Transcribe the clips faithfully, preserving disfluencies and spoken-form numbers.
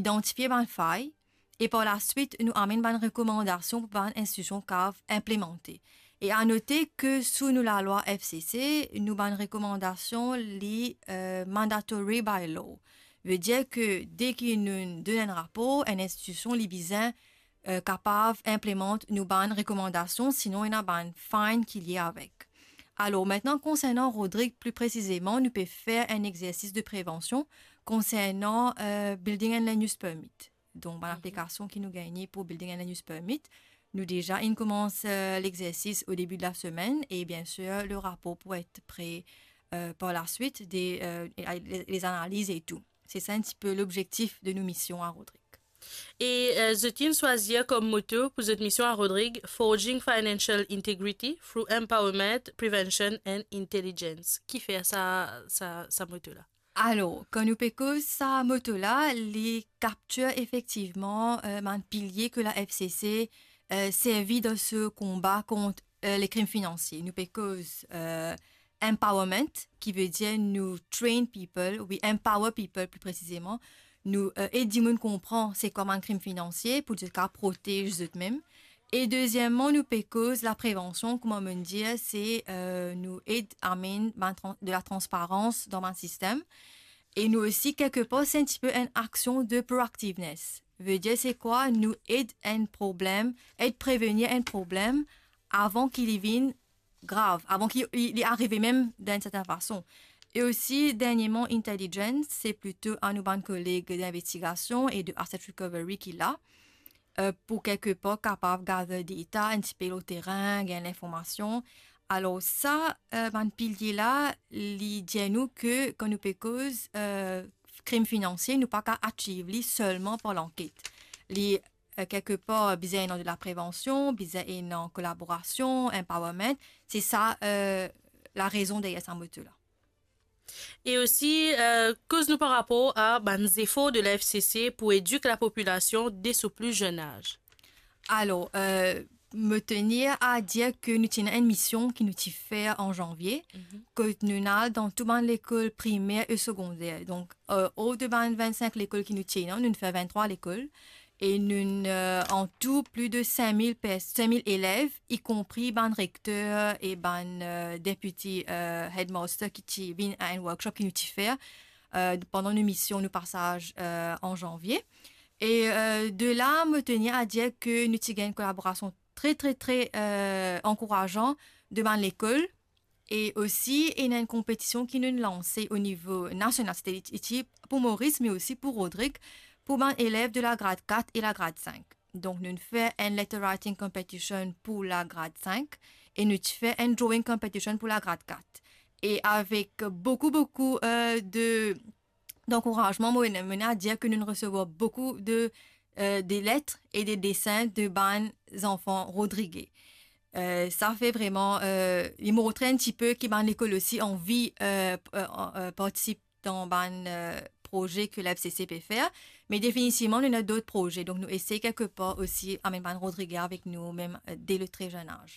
idantifie bann fay, e par laswit nou amenn bann rekomandasion pou bann institision kav inplemante. E a note ke sou nou lalwa F C C, nou bann rekomandasion li, eh, mandatory by law. Vedir ke de ki nou donn enn rapor, enn institision li bizin, eh, kapav inplemant nou bann rekomandasion, sinon ena bann fine ki lie avek. Alor, aster, konsernan Rodrig pli presizeman, nou pe fer enn exersis de prevansion konsernan, eh, building and land use permit. Donk, bann, mhm, aplikasion ki nou gagne pou building and land use permit, nou deza inn koumans, eh, lexersis o debi de lasemenn e, biensir, le rapor pou et pre, eh, par laswit, de, eh, e, e, le, lezanaliz e tou. Se sa enn tipe lobzektif de nou mision a Rodrig. E, eh, zot inn swazir kom moto pou zot mision a Rodrig, Forging Financial Integrity through Empowerment, Prevention and Intelligence. Kifer sa, sa, sa moto la? Alor, kan nou pe koz sa moto la, li kaptir efektivman, eh, bann pilie ke la F C C, eh, servi dan se konba kont, eh, le krim finansie. Nou pe koz, eh, empowerment, ki vedir nou train people, we empower people pli presizeman. Nou, eh, ed dimoun konpran se kwa bann krim finansie pou zot kav protez zot mem. E dezieman, nou pe koz laprevansion, kouma mo'nn dir, se, eh, nou ed amenn bann tran-, de latransparans dan bann sistem. E nou osi, kelkepar, se enn tipe enn aksion de proactiveness. Vedir se kwa? Nou ed enn problem, ed prevenir enn problem avan ki li vinn grav, avan ki li, li arive mem dan enn sertin fason. E osi, dernieman, intelligence, se plito a nou bann koleg dinvestigasion e de asset recovery ki la, eh, pou kelkepar kapav gather data, enn tipe lor terin, gagn linformasion. Alor sa, eh, bann pilie la, li dir nou ke kan nou pe koz, eh, krim finansie, nou pa kav achieve li selman par lanket. Li, eh, kelkepar, bizin ena de laprevansion, bizin ena kolaborasion, empowerment. Se sa, eh, larezon deryer sa moto la. E osi, eh, koz nou par rapor a bann zefor de la F C C pou edik lapopilasion de so pli zenn az. Alor, eh, mo tenir a dir ke nou ti ena enn mision ki nou ti fer an zanvie, mhm, kot nou'nn al dan tou bann lekol primer e segonder. Donk, eh, or de bann vennsink lekol ki nou ti ena, nou'nn fer venntrwa lekol. E nou'nn, eh, an tou pli de sink mil pers-, sink mil elev, ikonpri bann rekter e bann, eh, deputy, eh, headmaster ki ti vinn a enn workshop ki nou ti fer, eh, pandan nou mision, nou pasaz, eh, an zanvie. E, eh, de la, mo tenir a dir ke nou ti gagn kolaborasion tre, tre, tre, eh, ankourazan de bann lekol. E osi, ena enn konpetision ki nou'nn lanse o nivo nasional, sete iti pou Moris, me osi pou Rodrig, pou bann elev de lagrad kat e lagrad sink. Donk, nou'nn fer enn letter writing competition pou lagrad sink e nou ti fer enn drawing competition pou lagrad kat. E avek boukou, boukou, eh, de dankourazman, mo ena, mo ena a dir ke nou'nn resevwar boukou de, eh, de let e de desin de bann zanfan rodrige. Eh, sa fer vreman, eh, li montre enn tipe ki bann lekol osi anvi, eh, p-, eh, an-, eh, partisip dan bann, eh, proze ke la F C C pe fer. Me definitivman, nou ena dot proze. Donk, nou esey kelkepar osi amenn bann rodrige avek nou, mem, eh, de le tre zenn az.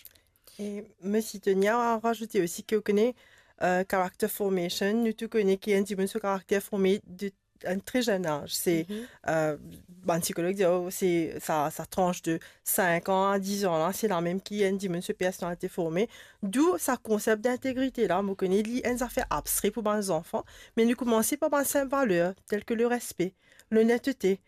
E mo ti tenir a razoute osi ke ou kone, eh, character formation, nou tou kone ki enn dimoun so karakter forme de enn tre zenn az. Se, mhm, eh, bann psikolog dir, oh, se sa, sa trans de sink an a diz an la, se la mem ki enn dimoun so personalite forme. Dou sa konsep dintegrite la, mo kone li enn zafer abstre pou bann zanfan, me nou koumanse par bann sinp valer, tel ke lerespe, lonetete.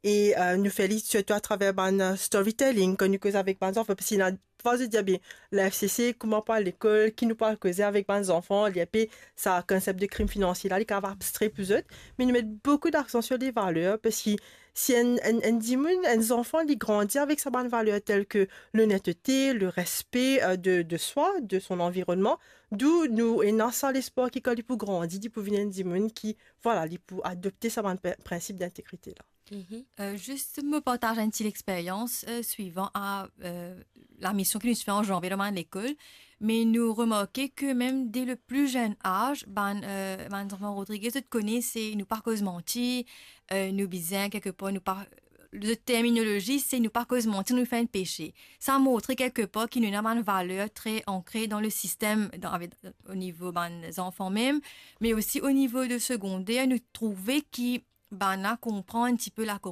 E, eh, nou fer li sirtou atraver bann, eh, storytelling, kan nou koz avek bann zanfan, parski ena fwa zot dir, "Be, la F C C, kouma pou al lekol, ki nou pou al koze avek bann zanfan?" Li enpe sa konsep de krim finansie la, li kav abstre pou zot, me nou met boukou daksan sir levaler, parski si enn, enn, enn dimoun, enn zanfan, li grandi avek sa bann valer tel ke lonetete, lerespe, eh, de, de swa, de son anvironnman, dou nou ena sa lespwar ki kan li pou grandi, li pou vinn enn dimoun ki, vwala, li pou adopte sa bann pe-, prinsip dintegrite la. Mhm. Eh, zis mo partaz enn ti lexperyans, eh, swivan a, eh, lamision ki nou ti fer an zanvie dan bann lekol, me nou remarke ke mem de le pli zenn az, bann, eh, bann zanfan rodrige, zot kone se nou pa koz manti, eh, nou bizin kelkepar, nou pa, zot terminolozi se nou pa koz manti, nou fer enn pese. Sa montre kelkepar ki nou ena bann valer tre ankre dan le sistem, dan, avek, o nivo bann zanfan mem, me osi o nivo de segonder, nou trouve ki bann la konpran enn tipe lakor-,